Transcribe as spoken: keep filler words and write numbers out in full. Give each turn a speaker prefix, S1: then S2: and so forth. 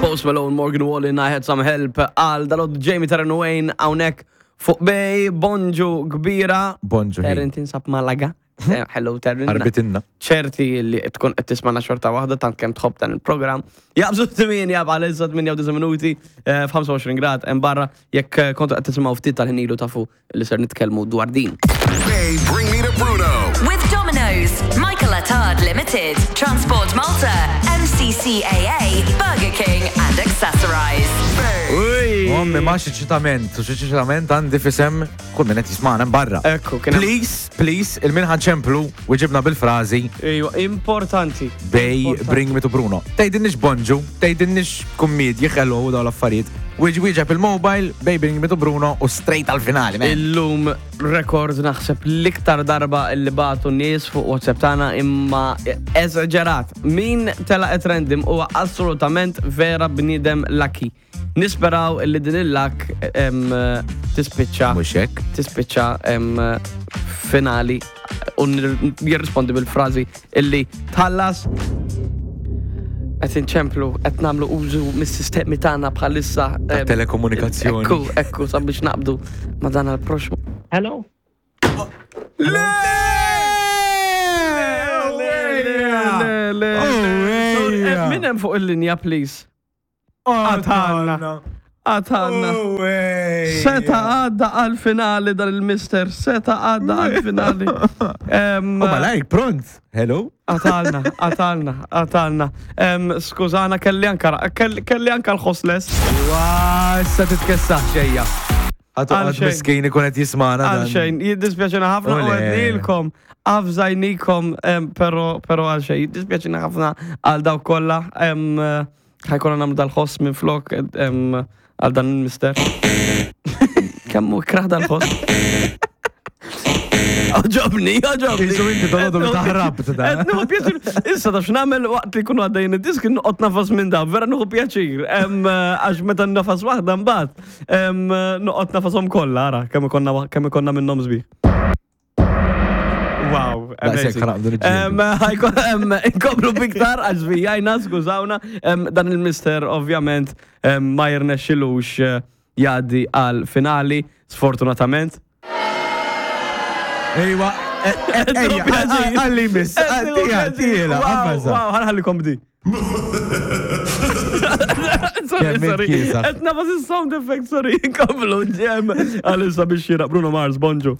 S1: Post Malone, Morgan Wallen, "I Had Some Help" għal dal Jamie, Taryn, Wayne hawnhekk fuq Bay, bonġu kbira.
S2: Bonġu.
S1: Taryn tinsab Malaga. Eh, Hello, Taryn.
S2: Arbitinna.
S1: Ċerti li tkun qed tismana xorta waħda tant kemm tħobb dan il-programm. Jaqbżu tmienja bħalissa, tmienja u disa' minuti, eh, f'ħamsa u għoxrin grad hemm barra. Jekk eh, kontu qed tisimgħu ftit tal-ħin ilu, tafu li ser nitkellmu dwar din.
S3: Bay, Bring Me to Bruno.
S4: With Domino's, Michael Attard Limited, Transport Malta, M C C A A, Burger King and Accessorize.
S1: Uj!
S2: Ommi, ma xi ċitament, u xi ċitament għandi f'isem kull min qed jismagħna barra.
S1: Ekku, kien hemm-
S2: Please, please, lil min ħa nċemplu weġibna bil-frażi
S1: Ejwa, importanti.
S2: "Bay,
S1: Importanti.
S2: Bring Me to Bruno". Tgħidilniex bonġu, tgħidilniex kummedji, hello u dawn l-affarijiet. Weġ wieġeb il-mobile, "Bay, Bring Me to Bruno" u straight għal-finali, man.
S1: Illum rekord, naħseb l-iktar darba li bagħtu nies fuq WhatsApp tagħna, imma eżaġerat. Min tela at random huwa assolutament vera bniedem lucky. Nisperaw li din il-luck em, tispiċċa
S2: Mhux hekk.
S1: tispiċċa em, finali u nir- jirrispondi bil-frażi illi tħallas. Qed inċemplu, qed nagħmlu użu mis-sistemi tagħna bħalissa
S2: Ta'
S1: em,
S2: telekomunikazzjoni.
S1: Ekku, ekku, sabiex naqbdu ma dan għal-proxmu.
S5: Hello?
S1: Le! Le, le, le. Sorry, eh, min hemm fuq il-linja, please? Għatanna. Għatanna. Seta għadda għal-finali dan il-mister, seta għadda għal-finali. Em,
S2: U malajk, pront. Hello?
S1: Għatalna, għatalna, għatalna. Em, Skużana, kelli anka, kelli kelli anka l-ħosles.
S2: Wa, issa titkessaħ xejja. Għatu
S1: Għal
S2: għad
S1: xejn.
S2: miskin ikun qed jismana.
S1: Għal
S2: dan.
S1: xejn, jiddispjaċina ħafna u
S2: Ole.
S1: għednilkom, avżajnikom, em, pero, pero għal xejn, jiddispjaċina ħafna għal daw kollha, em, ħa jkollna nagħmlu dal-ħoss minn flok em, għal dan il-mister. Kemm hu ikrah dal-ħoss. Għoġobni, għoġobni.
S2: Isu inti dolodu li taħrab ta'
S1: Qed nieħu pjaċir. Issa taf x'nagħmel waqt li jkunu għaddejjin id-disk? Noqgħod nagħfas minn da, vera nieħu pjaċir. Em, Għax meta nagħfas waħda mbagħad, em, noqgħod nagħfashom kollha, ara kemm ikonna kemm ikonna minnhom sbieħ. Wow,
S2: Daqshekk
S1: amazing.
S2: ħanaqbdu niġġieldu.
S1: Em, ħajko- em, Inkomplu biktar għax vijajna, skużawna. Em, Dan il-mister ovvjament em, ma jirnexxilux eh, jgħaddi għal finali, sfortunatament.
S2: Ejwa, ejja, għalli miss, tija, tija, għabbaza.
S1: Wow, ħa nħallikom di. Sorry,
S2: Kemm
S1: sorry.
S2: kiesaħ.
S1: Qed nagħfas il-sound effect, sorry. Inkomplu ġem. Għalissa biex xira Bruno Mars, bonġu.